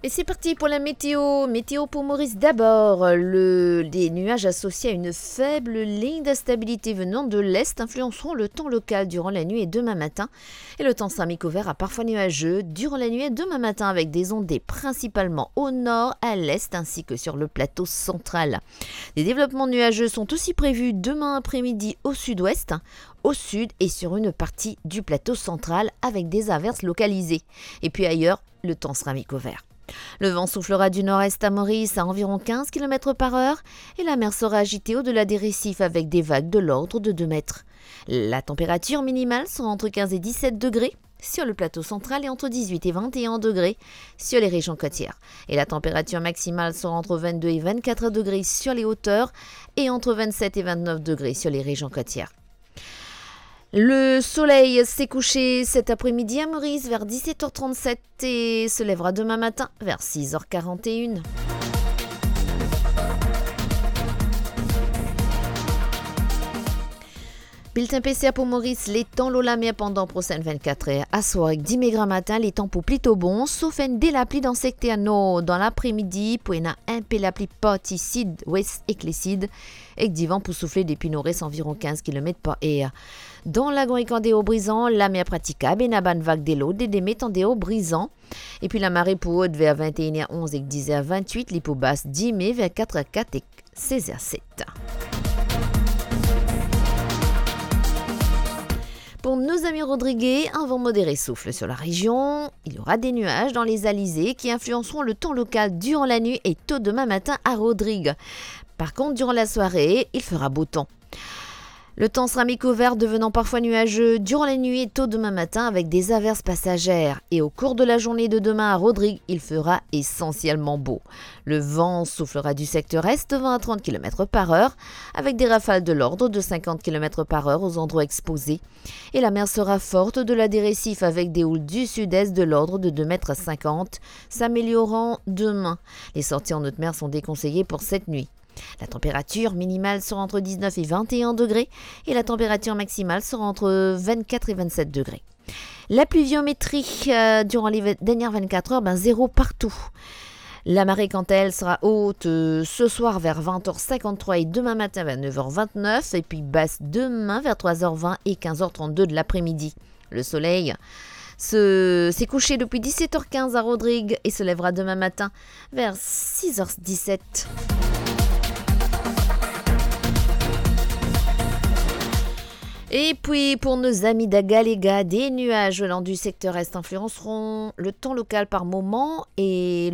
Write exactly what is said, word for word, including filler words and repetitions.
Et c'est parti pour la météo. Météo pour Maurice d'abord. Le, des nuages associés à une faible ligne d'instabilité venant de l'est influenceront le temps local durant la nuit et demain matin. Et le temps sera mi-couvert à parfois nuageux durant la nuit et demain matin avec des ondées principalement au nord, à l'est ainsi que sur le plateau central. Des développements nuageux sont aussi prévus demain après-midi au sud-ouest, au sud et sur une partie du plateau central avec des averses localisées. Et puis ailleurs, le temps sera mi-couvert. Le vent soufflera du nord-est à Maurice à environ quinze kilomètres par heure et la mer sera agitée au-delà des récifs avec des vagues de l'ordre de deux mètres. La température minimale sera entre quinze et dix-sept degrés sur le plateau central et entre dix-huit et vingt et un degrés sur les régions côtières. Et la température maximale sera entre vingt-deux et vingt-quatre degrés sur les hauteurs et entre vingt-sept et vingt-neuf degrés sur les régions côtières. Le soleil s'est couché cet après-midi à Maurice vers dix-sept heures trente-sept et se lèvera demain matin vers six heures quarante et une. Bilten P C R pou Moris, letan lor lamer pandan prosenn vennkat er, aswar ek dime gramatin, letan pou plito bon, sof enn de lapli dan sekter nor. Dan lapremidi, pou ena inpe lapli parti sid, wes ek lesid, ek divan pou soufle depi nord-es anviron kinz kilomet par er. Dan Lagon ek andeor Brizan, lamer pratikab, ena bann vag de lord de de met andeor Brizan. Epi lamare pou ot ver vennenn er onz ek diz er vennwit, li pou bas dime ver kat er kat ek sez er set. Pour nos amis rodriguais, un vent modéré souffle sur la région. Il y aura des nuages dans les alizés qui influenceront le temps local durant la nuit et tôt demain matin à Rodrigues. Par contre, durant la soirée, il fera beau temps. Le temps sera mi-couvert, devenant parfois nuageux durant la nuit et tôt demain matin avec des averses passagères. Et au cours de la journée de demain à Rodrigues, il fera essentiellement beau. Le vent soufflera du secteur est de vingt à trente kilomètres par heure, avec des rafales de l'ordre de cinquante kilomètres par heure aux endroits exposés. Et la mer sera forte au-delà des récifs avec des houles du sud-est de l'ordre de deux mètres cinquante, s'améliorant demain. Les sorties en haute mer sont déconseillées pour cette nuit. La température minimale sera entre dix-neuf et vingt et un degrés et la température maximale sera entre vingt-quatre et vingt-sept degrés. La pluviométrie, euh, durant les vingt, dernières vingt-quatre heures, ben, zéro partout. La marée, quant à elle, sera haute, euh, ce soir vers vingt heures cinquante-trois et demain matin vers neuf heures vingt-neuf, et puis basse demain vers trois heures vingt et quinze heures trente-deux de l'après-midi. Le soleil se, s'est couché depuis dix-sept heures quinze à Rodrigues et se lèvera demain matin vers six heures dix-sept. Et puis, pour nos amis d'Agalega, des nuages venant du secteur est influenceront le temps local par moment et